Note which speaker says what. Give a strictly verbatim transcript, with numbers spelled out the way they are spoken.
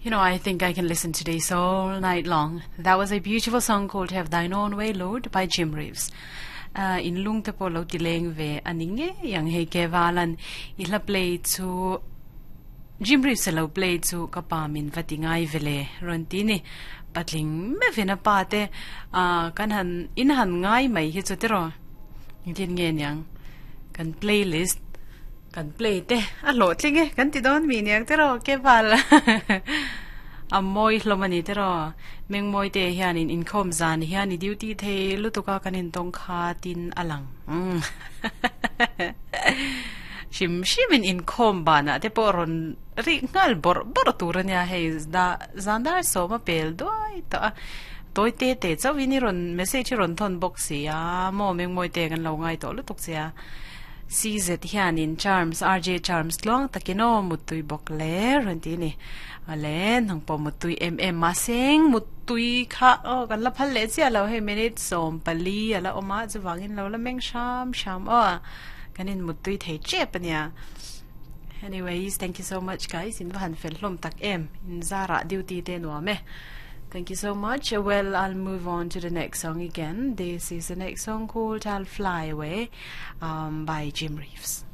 Speaker 1: You know, I think I can listen to this all night long. That was a beautiful song called Have Thine Own Way, Lord by Jim Reeves. Uh, in lung te po lo ti leng ve ani nge yang hei ke walan i hla play chu Jim Reeves lo play chu ka pa min vati ngai vele ron ti ni patling me vena pa te uh, kan han in han ngai mai hi chu tero tin nge nyang kan playlist kan play te a lo tling e kan ti don mi niang tero ke wal a moi hlomani tero meng moi te hian in inkhom zan hian i duty the lutuka kanin tong kha tin alang shim shimin in khom bana te po ron ri ngal bor bor turania hei da zandar soma pel doi ta toi te te chawini ron message ron thon box ya mo meng moi te kan lo ngai to lutuk sia C Z hian in Charms R J Charms long takino mutui bok le ron ti ni ale nang po mutui M M ma seng mutui kha o kan la phal le chia lo he minute som pali ala oma chuwangin lo la meng sham sham o kanin mutui thei che pania. Anyways, thank you so much guys in van fel hlom tak em in zara duty te nuame. Thank you so much. Well, I'll move on to the next song again. This is the next song called I'll Fly Away um, by Jim Reeves.